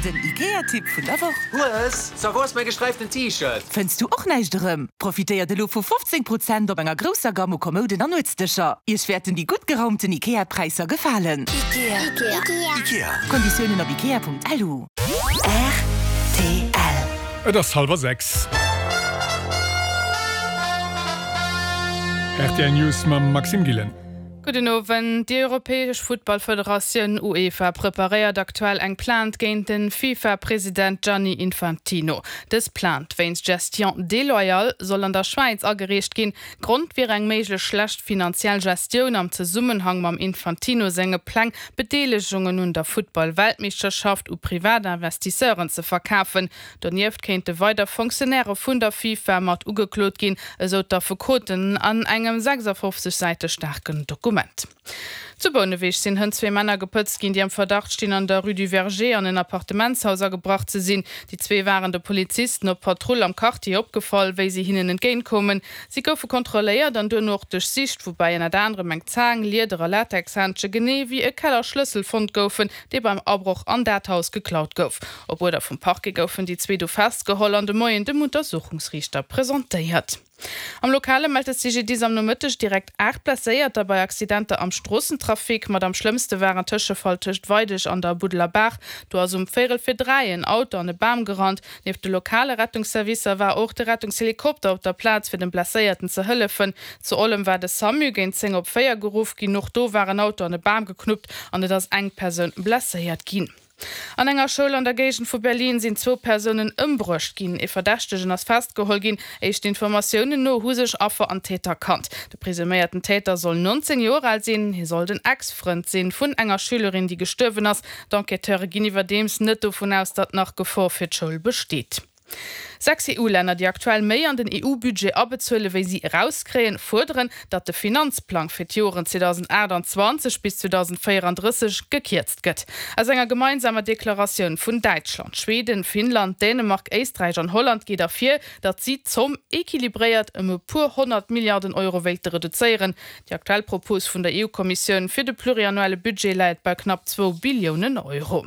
Den Ikea-Tipp vun der Woch. Hues, so wou ass mäi gesträiften T-Shirt? Fënns du och näischt erëm? Profitéiert elo vu 15 Prozent op enger grousser Gamme u Kommouden an Nuetsdëscher. Iech wäerten déi gutt geraumten Ikea-Präisser gefalen. Ikea. Ikea. Konditiounen op ikea.lu. Rtl. Et ass hallwer 6. Rtl News mam Maxime Gillen. Gudden Owend. Déi europäesch Futtballfederatioun UEFA preparéiert aktuell eng Plainte géint de FIFA-President Gianni Infantino. Dës Plainte wéinst Gestion déloyale soll an der Schwäiz agereecht ginn. Grond wier eng méiglech schlecht finanziell Gestioun am Zesummenhang mam Infantino senge Pläng, Bedeelegungen un der Futtball-Weltmeeschterschaft u privat Investisseuren ze verkafen. Donieft kéinte weider Fonctionnairë vun der FIFA mat ugeklot ginn, esou d'Affekoten an engem 56 Säite staarken Dokument. Zu Bouneweg sinn hënt zwee Männer gepëtzt ginn, déi am Verdacht stinn, an der Rue du Verger an en Appartementshaus agebrach ze sinn. Déi zwee waren de Polizisten op Patrull am Quartier opgefall, wéi si hinnen entgéint koumen. Si goufe kontrolléiert an duerno och duerchsicht, woubäi ënnert anerem eng Zaang, Lieder a Latexhändsche genee wéi e Kellerschlëssel fonnt goufen, dee beim Abroch an dat Haus geklaut gouf. Op Uerder vum Parquet goufen déi zwee du festgeholl an de Moien dem Untersuchungsriichter presentéiert. Am Lokale mellt de CGDIS am Nomëtteg direkt 8 Blesséierter bei Accidenter am Stroossentrafic. Mat am schlëmmste war en Tëschefall tëscht Weideg an der Buddeler Baach. Do ass um véierel fir 3 en Auto an e Bam gerannt. Nieft de lokale Rettungsservicer war och de Rettungshelikopter op der Plaz fir dem Blesséierten ze hëllefen. Zu Ollem war de Samu géint 10 op 4 geruff ginn. Och do war en Auto an e Bam geknuppt an et ass eng Persoun blesséiert ginn. An enger Schoul an der Géigend vu Berlin sinn zwou Persounen ëmbruecht ginn. Ee Verdächtegen ass festgeholl ginn. Éischten Informatiounen no hu sech Affer an Täter kannt. De presuméierten Täter soll 19 Joer al sinn. Hie soll den Ex-Frënd sinn vun enger Schülerin, déi gestuerwen ass. D'Enquêteure ginn iwwerdeems net dovun aus, datt nach Gefor fir d'Schoul besteet. 6 EU-Länner, déi aktuell méi an den EU-Budget abezuele wéi si erauskréien, fuerderen, datt de Finanzplang fir d'Joren 2028 bis 2034 gekierzt gëtt. Aus enger gemeinsamer Deklaratioun vun Däitschland, Schweden, Finnland, Dänemark, Éisträich an Holland geet ervir, datt si d'Zomm equilibréiert ëm e puer 100 Milliarden Euro wéilte reduzéieren. Déi aktuell Propos vun der EU-Kommissioun fir de pluriannuelle Budget läit bei knapp zwou Billiounen Euro.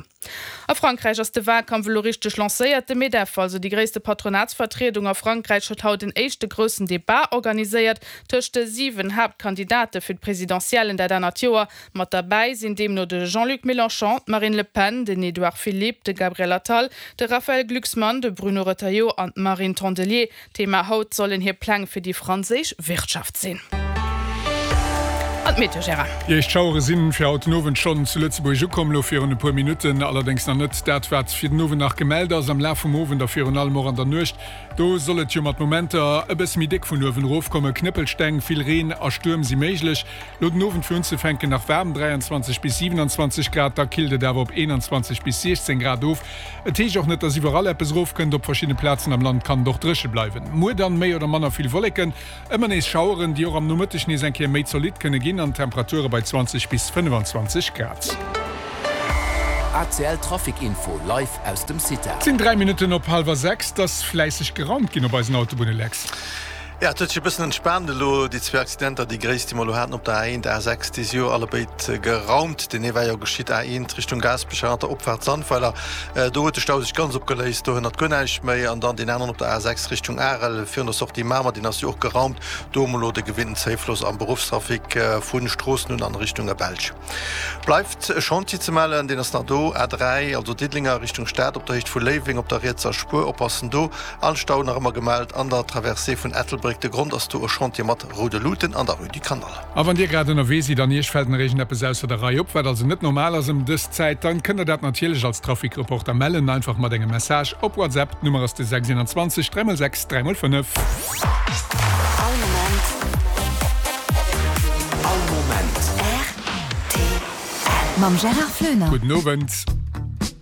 A Frankräich ass de Walkampf elo richteg lancéiert. De Medef, also déi gréisste Patronatsvertriedung a Frankräich, huet haut en éischte groussen Debat organiséiert tëscht de 7 Haaptkandidate fir d'Presidentiellen dat anert Joer. Mat derbäi sinn deemno de Jean-Luc Mélenchon, d'Marine Le Pen, den Edouard Philippe, de Gabriel Attal, de Raphaël Glucksmann, de Bruno Retailleau an d'Marine Tondelier. Thema haut sollen hir Pläng fir déi franséisch Wirtschaft sinn. An d'Meteo, Gérard. Déi éischt Schauere sinn fir haut den Owend schonn zu Lëtzebuerg ukomm, elo virun e puer Minutten. Allerdéngs nach net dat, wat fir den Owend nach gemellt ass. Am Laf vum Owend a virun allem och an der Nuecht, do soll et jo mat Momenter e bësse méi déck vun uewen erofkommen. Knëppelsteng, vill Reen a Stuerm si méiglech. Lo den Owend fir unzefänken nach waarm, 23 bis 27 Grad, da killt et awer op 21 bis 16 Grad of. Et heescht och net, dass iwwerall eppes erofkënnt, op verschiddene Plazen am Land kann et och dréche bleiwen. Muer dann méi oder manner vill Wolleken, ëmmer nees Schaueren, déi och am Nomëtteg nees eng Kéier méi zolidd kënne ginn an Temperature bei 20 bis 25 Grad. ACL Trafic Info live aus dem CITA. Et sinn 3 Minutten op hallwer 6, et ass fläisseg geraumt ginn op eisen Autobunnen, Lex. Jo, et huet sech e bëssen entspaant elo. Déi zwee Accidenter, déi gréisst, déi mer elo haten op der A1, A6, déi si jo allebéid geraumt. Deen ee war jo geschitt A1 Richtung Gaasperech an der Opfaart Sandweiler. Do huet de Stau sech ganz opgeléist, do hënnert guer näischt méi. An dann deen aneren op der A6 Richtung Arel virun der Sortie Mamer, deen ass jo och geraumt. Do hu mer elo de gewinnten Zéifloss am Beruffstrafic vu Stroossen un an Richtung Belsch. Bleift e Chantier ze mellen, deen ass nach do, A3, also Diddeleng a Richtung Stad op der Héicht vu Léiweng op der rietser Spuer. Oppassen do. An Stau nach ëmmer gemellt an der Traversée vun Ettelbréck. De Grond ass do e Chantier mat roude Luuten an der Rue du Canal. A wann Dir grad ënnerwee sidd an Iech fält nach iergendeppes ausser der Rei op, wat also net normal ass ëm dës Zäit, dann kënnt Der dat natierlech als Trafikreporter mellen, einfach mat engem Message op WhatsApp. D'Nummer ass de 621 3x6 3x5. All Moment. All Moment. Rtl. Mam Gérard Floener. Gudden Owend.